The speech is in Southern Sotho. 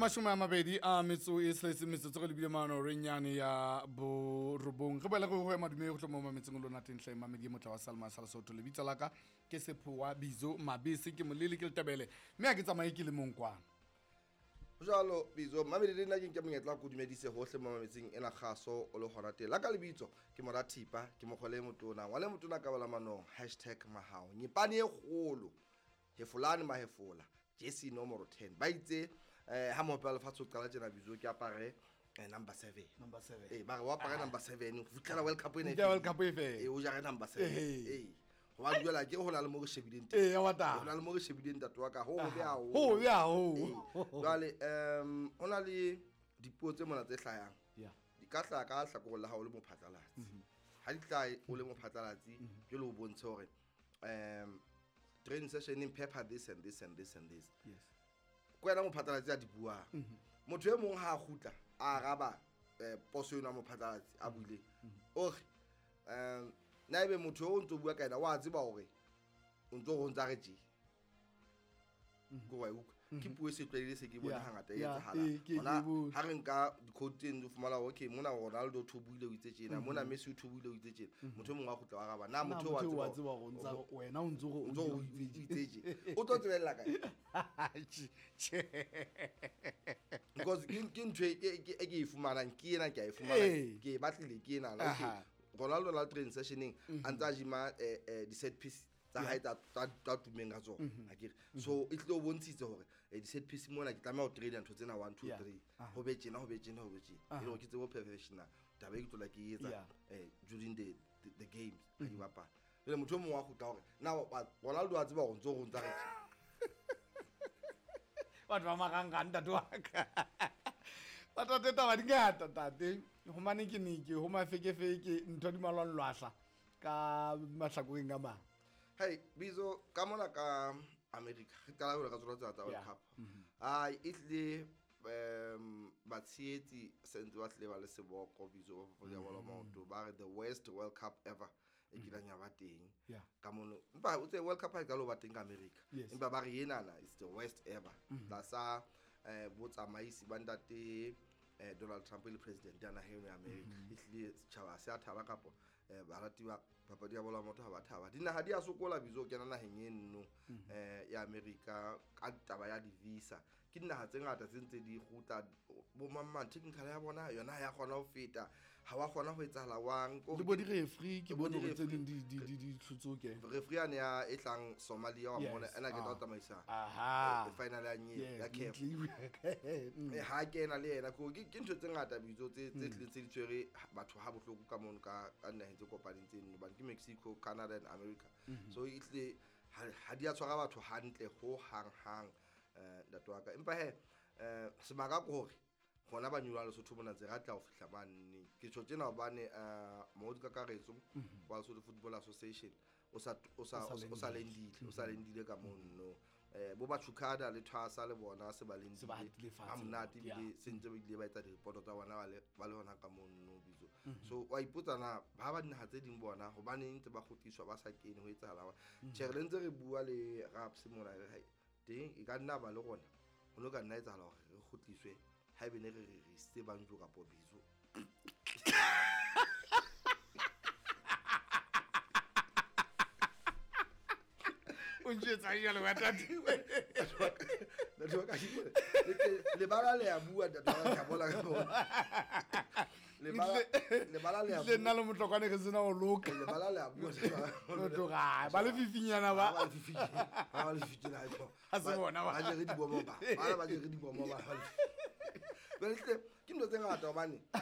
Le 26 metsotso re lebile mano re nyane ya borobong. Re boela re ho ema dume go tlo mo mametseng lona tentle mamedi e motla wa Salma sa Lesotho. Lebitso la ka ke Sephowa Bizo Mabese, ke molele ke letebele mme ha ke tsamaye ke le mong kwana. Jalo Bizo mamedi, le nna ke nke monyetla wa ko dumedise hohle mo mametseng ena kgaso o le hona teng. La ka lebitso ke mora Thipa, ke mokgole e motona, ngwana e motona ka bala manong #mahao nyepane e kgolo hefolane mahefola jesi nomoro 10. Ba itse ha mohope wa lefatshe o qala tjena Bizo ke apare number 7. Number 7. Ba re o apare number 7 ho fihlela World Cup ena e Fihlela World fele. Cup e fele. O jare number 7. Ehe. Hobane jwale akere ho na le mo re shebileng teng. Ee, wa taba. Ho na le mo re shebileng ntate wa ka, ho hobe haholo. Ho hobe haholo. Ee. Jwale, ho na le dipuo tse mona tse hlayang. Yeah. Di ka hlaha ka hlakoreng la hao o le mophatlalatsi. Ha di hlahe o le mophatlalatsi, jwale o bontshe hore, training session pepper this and this and this and this. Yes. Ke wena mophatlalatsi a di buang. Motho e mong ha a kgutla, a araba, poso eno ya mophatlalatsi a buileng. O re, na ebe motho o ntso bua ka yena, wa tseba hore o ntso re o ntsa re tje. Ke wa e utlwa. Ke puo e se tlwaelehile, se ke bone Yeah, hangata e yeah, etsahala. ke Hona e bone. ha re nka di-quote tse ntse o fumana hore, okay, mona Ronaldo o thobuile o itse tjena, mona Messi o thobuile o itse tjena. Motho e mong wa kgutla wa araba, na Na motho wa motho wa tseba tseba hore o ntsa re, wena o ntso re o o ntso re o itse itse tje. O tlo tsebella kae? Tjhe. Because ke ntho e ke e fumanang, ke ena ke a e fumana, Ee. ke e batlile ke ena. Okay. Aha. Ronaldo la training sessioneng, a ntsa gym-a, di-set piece tsa hae tsa tumeng ka tsona, akere. So e tlile o bontshitse hore, di-set piece mona ke tlameha ho train-a ntho tsena 1, 2, Yeah. 3. Aha. Ho be tjena, ho be tjena, ho be tjena. E le hore ke tsebe ho professional. Taba e ke tlola ke e etsa, Yeah. during the games, ha di bapala. Jwale motho e mong wa kgutla hore, na Ronaldo wa tseba hore ntso re o ntsa re tje. Batho ba marangrang, ntate wa ka. Ba tate taba di ngata, tate. Ho mane ke ne ke, ho mafekefeke, ntho di malwanglwahla ka mahlakoreng a mang. Hey, Bizo, ka mona ka America, re qala jwale ka tsona tsena tsa World Yeah. Cup. Ai, e tlile, batshehetsi se ntse ba tlile ba le seboko, Bizo, ba papadi ya bolo ya maoto, ba re the worst World Cup ever e kileng ya ba teng. Yeah. Ka mono, empa o tsebe World Cup ha e qala ho ba teng ka America. Yes. Empa ba re enana is the worst ever. Tlasa, botsamaisi ba ntate, Donald Trump e le president ya naha eno ya America. E hlile setjhaba se a thaba kapa, barati ba papadi ya bolo ya maoto ha ba thaba. Dinaha di a sokola Bizo ho kena naheng eno, ya America ka taba ya di-visa. Ke dinaha tse ngata tse ntse di kgutla, bo mang mang, technical ya bona yona ha ya kgona ho feta, ha wa kgona ho etsahala wang. Ko Le bo di-referee, ke Le bo bone hore tse di-referee. ding di hlotse ho kena. Referee yane ya e tlang Somalia wa Yes. mona, ena ke tla Ah. tsamaisa, Aha. final ya nye, Yes, ya CAF. ntle e bua. Ha kena le yena, ke ntho tse ngata Bizo tse tlileng tse di tshwere batho ha bohloko ka mono ka dinaheng tse kopaneng tse nne, hobane ke Mexico, Canada and America. So e tlile ha di a tshwara batho hantle ho hang hang, ntate wa ka. Empa he, sebaka ke hore hona ba nyolohang Lesotho mona ntse re tla ho fihla mane. Ke tjho tjena hobane, mongodi kakaretso wa Lesotho Football Association o sa, o sa, O sa o sa lendile. lendile, o sa lendile ka mono. Bo Bachukada le Thwasa le bona se ba lendile. Se ba hatile fatshe Ha monate le bona, ebile yeah. se ntse ba ile ba etsa direpoto tsa bona ba le hona ka mono Bizo. So wa ipotsa na ba ba dinaha tse ding bona hobaneng ntse ba kgutliswa ba sa kene ho etsahala hore. Tjhe, re ntse re bua le Raps mona re hai teng e ka nna ba le rona. Ho no ka nna etsahala hore re kgutliswe haebe ne re re re isitse Banjo kapa Bizo. O ntjwetsa jwale wa tate. Ntate wa ka, lebala le a bua, ntate wa ka, ke a bona ka bona. Lebala le a Ntle nna bua. le motlokwane re sena ho loka. Lebala le a bua, ntate wa ka. Ho tloga, ba le fifinyana ba. Ba le fifinyana, ba le fifinyana, ha e Ha se bona ba. Ba jere dibomo ba. Ba jere dibomo ba. Jwale hle, ke ntho tse ngata hobane